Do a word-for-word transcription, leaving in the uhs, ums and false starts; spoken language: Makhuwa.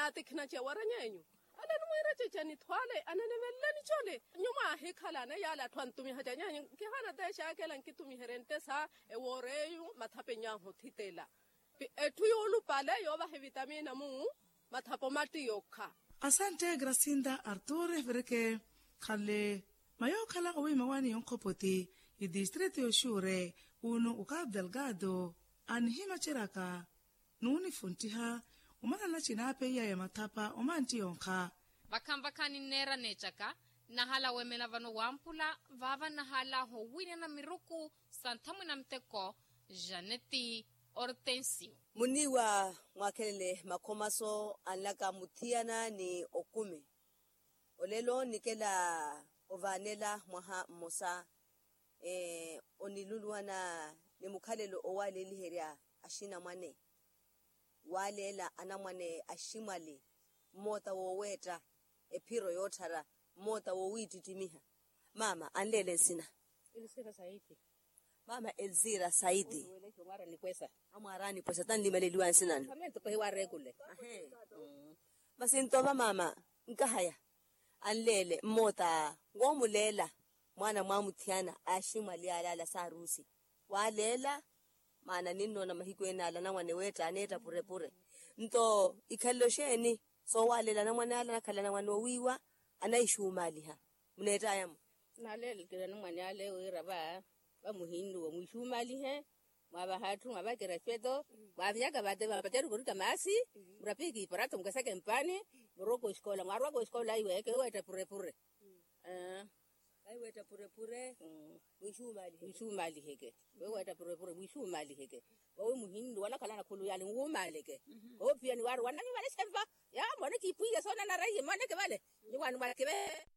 Ati khinatxe warany'enyu, ale nimwiira cece nithwale ananiveleleni cole. Nyumwa ahikhalana yaala atthu antumiha canyanyu, nkihana te exaakela nkitumiherye nttesa ewooreyu mathapenyahu othitela. Etthu yuulupale yoovaha evitamina mu mathapo matti yokha. Asantte gracinda artur evireke khanle mayookhala owiimawani yonkhopoti, itistrito yoxuure unu ukapu delgado anihimaceryaka nuunifunttiha. Omanana cinaapeiyaya mathapa omantti yonkha. Vakhanvakha ninneera neettaka nnahala wemela vano wampula vaava nnahala howiinana miruku sa nthamwina muteko. Janeti ortensio. Muniiwa mwaakhelele makhomaso anlaka muthiyana ni okumi. Olelo nikela ovaanela mwaha mmosa oniluluwana ni mukhalelo owaaleliherya axinamwane. Waaleela anamwane aximwali mmoota wooweetta ephiro yootthara mmoota woowiittittimiha. Maama anleele nsina. Elzira saidi. Maama elzira saidi. Amwaara anipwesa tanlimaleliwa nsinanu. Masi ntova maama nkahaya anleele mmoota woomuleela mwaana mwaamuthiyana aximwali alaala saaruusi. Waaleela maana ninnoona mahiku enaala anamwane weetta aneetta purepure. Nto ikhalelo xeeni soowaaleela anamwane ala anakhala anamwane oowiiwa anaixumaaliha? Muneettayamo. Naaleelekela anamwane ale wira va vamuhinnuwa mwiixumaalihe. Mwaavaha atthu mwaavakera espeto mwaavinyaka vate vapaterika orika maasi murapihike iparato mukeseke mpaani. Murowaka oxikola mwaarowaka oxikola aiweke weetta purepure. Aiweetta purepure. Mwiixumaliheke. Weweetta purepure mwiixumaliheke. Vawe muhinnuwa anakhalana khulu yaale nwumaleke. Koophiyani waarowa nnanyumaleshe mva. Yaa mone kiipwiya soonanara iye moneke vale. Nyuwaani mwakive.